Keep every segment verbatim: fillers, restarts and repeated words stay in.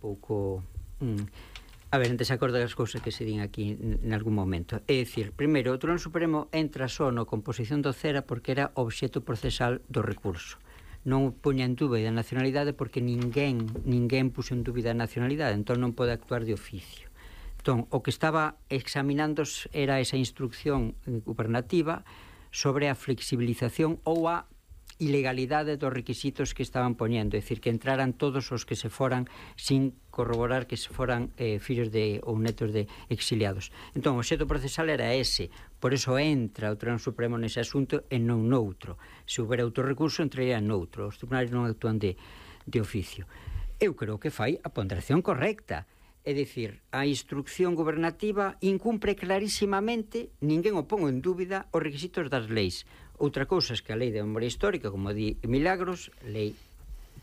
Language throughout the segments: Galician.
pouco... Mm, a ver, en desacordo das cousas que se din aquí en algún momento. É dicir, primeiro, o Tribunal Supremo entra só na composición do CERA porque era obxecto procesal do recurso. Non puña en dúbida a nacionalidade porque ninguén ninguén puxo en dúbida a nacionalidade, entón non pode actuar de oficio. Entón, o que estaba examinando era esa instrucción gubernativa sobre a flexibilización ou a ilegalidade dos requisitos que estaban poñendo, é dicir, que entraran todos os que se foran sin corroborar que se foran eh, fillos de ou netos de exiliados. Entón, o obxecto procesal era ese, por eso entra o Tribunal Supremo nese asunto e non noutro. Se houbera outro recurso, entraría noutro. Os tribunais non actúan de, de oficio. Eu creo que fai a ponderación correcta. É dicir, a instrucción gobernativa incumpre clarísimamente, ninguén o pon en dúbida, os requisitos das leis. Outra cousa é que a lei de memoria histórica, como di Milagros, lei,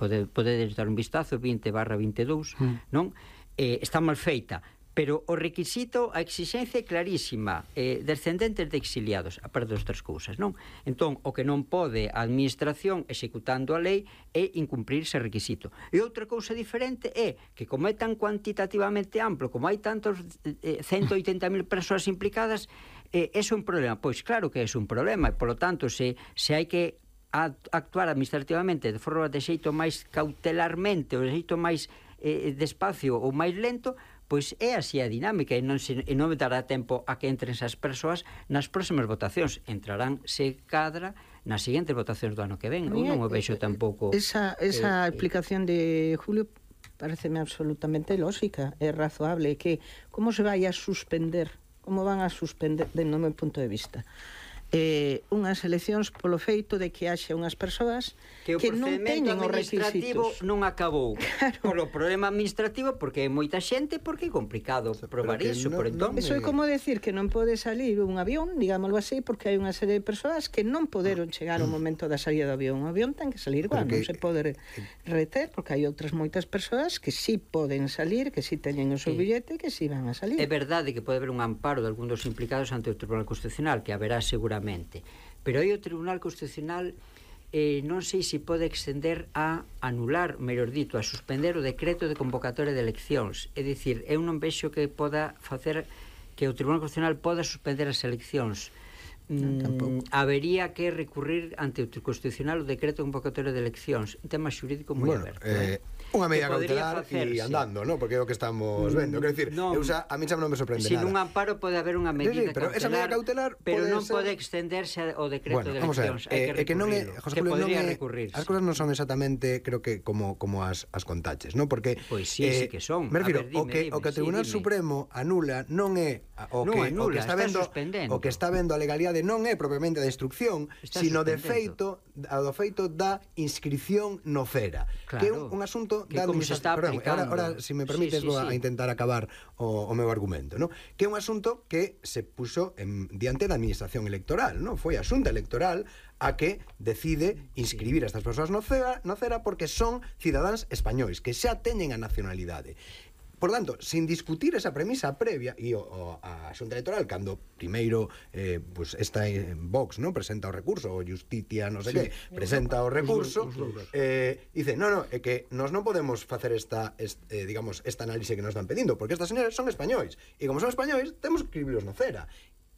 pode, podedes dar un vistazo, vinte barra vinte e dous, mm. non? Eh, está mal feita, pero o requisito, a exigencia é clarísima, eh, descendentes de exiliados, a parte das outras cousas, non? Entón, o que non pode a administración, executando a lei, é incumprir ese requisito. E outra cousa diferente é que, como é tan cuantitativamente amplo, como hai tantos eh, ciento oitenta mil persoas implicadas, eh, é un problema. Pois claro que é un problema, e, polo tanto, se, se hai que actuar administrativamente de forma de xeito máis cautelarmente, ou de xeito máis eh, despacio ou máis lento, pois é así a dinámica, e non, se, e non me dará tempo a que entren esas persoas nas próximas votacións. Entrarán, se cadra, nas seguintes votacións do ano que ven. Eu non o vexo tampouco... Esa, esa eh, explicación de Julio pareceme absolutamente lógica, é razoable, que como se vai a suspender, como van a suspender, de no meu punto de vista, eh, unhas eleccións polo feito de que haxe unhas persoas que, que non teñen os requisitos. Non acabou claro. Polo problema administrativo, porque é moita xente, porque é complicado o sea, probar iso, no, por entón. Eso é como decir que non pode salir un avión, digámoslo así, porque hai unha serie de persoas que non poderon chegar ao momento da salida do avión. O avión ten que salir igual, non se pode reter, porque hai outras moitas persoas que sí poden salir, que sí teñen o seu billete, que sí van a salir. É verdade que pode haber un amparo de algún dos implicados ante o Tribunal Constitucional, que haberá seguramente. Pero aí o Tribunal Constitucional eh, non sei se pode extender a anular, mellor dito, a suspender o decreto de convocatoria de eleccións. É dicir, eu non vexo que poda facer que o Tribunal Constitucional poda suspender as eleccións. Mm, habería que recurrir ante o Constitucional o decreto de convocatoria de eleccións, un tema xurídico moi bueno, aberto. Eh, unha medida cautelar e andando, ¿no? Porque é o que estamos vendo. Quero dicir, non, eu xa, a mí xa non me sorprende sin nada. Sin un amparo pode haber unha medida sí, sí, pero cautelar, esa medida cautelar pero pode non ser... pode extenderse ao decreto bueno, de eleccións. Hai que, eh, que non é, José Julio, podría non é, recurrirse. As cousas non son exactamente, creo que como como as as contaches, ¿no? Porque pois sí, eh, sí que son. Me refiro, ver, dime, o que dime, o que o Tribunal sí, Supremo anula non é o non que anula, o que está, está vendo suspendendo. o que está vendo a legalidade non é propiamente da instrucción, está sino de feito, do feito da inscripción no CERA, claro, que é un, un asunto que da como se está Perdón, aplicando. Ahora, ahora, se me permites, sí, sí, vou a sí. intentar acabar o, o meu argumento, ¿no? Que é un asunto que se puxo en, diante da administración electoral, ¿no? Foi a Xunta Electoral a que decide inscribir a estas persoas no CERA, no CERA porque son cidadáns españois que xa teñen a nacionalidade. Por tanto, sin discutir esa premisa previa, e o, o, a Xunta Electoral, cando primeiro eh, pues esta en Vox, ¿no? Presenta o recurso, o Justitia, non sei sí. que, presenta o recurso, eh, dice, no, no, é que nós non podemos facer esta, este, digamos, esta análise que nos están pedindo, porque estas señores son españois, e como son españois, temos que escribirlos no CERA.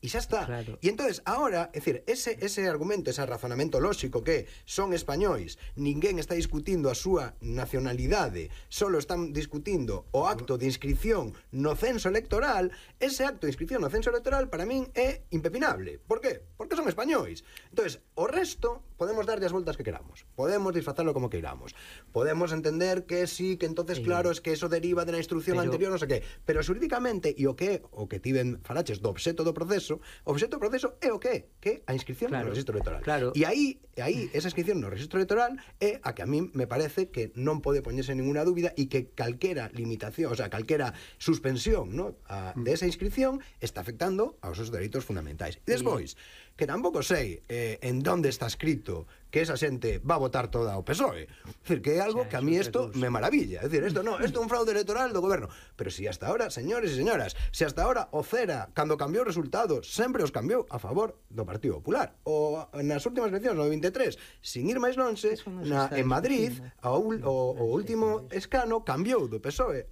E xa está. Claro. E entonces, ahora, é dicir, ese, ese argumento, ese razonamento lóxico que son españois, ninguén está discutindo a súa nacionalidade, solo están discutindo o acto de inscripción no censo electoral, ese acto de inscripción no censo electoral para min é impepinable. Por qué? Porque son españois. Entonces, o resto podemos darlle as voltas que queramos, podemos disfrazarlo como queiramos, podemos entender que sí, que entonces, sí. claro, es que eso deriva de la instrucción pero... anterior, non sei que, pero xurídicamente, e o que o que tiven falaches do obxecto do proceso, o obxecto do proceso é o que? Que a inscripción claro, no registro electoral. Claro. E aí, aí, esa inscripción no registro electoral é a que a mí me parece que non pode poñerse ninguna dúbida e que calquera limitación, o sea, calquera suspensión, ¿no? a, de esa inscripción está afectando aos seus dereitos fundamentais. E despois, que tampouco sei eh, en donde está escrito que esa xente va a votar toda o P S O E. É dicir, que é algo que a mí isto me maravilla. É dicir, isto non, isto é un fraude electoral do goberno. Pero si hasta ahora, señores e señoras, si hasta ahora o CERA, cando cambiou resultados, sempre os cambiou a favor do Partido Popular. O nas últimas eleccións, no vinte e tres, sin ir máis lonxe, na, en Madrid, o, o, o último escano cambiou do P S O E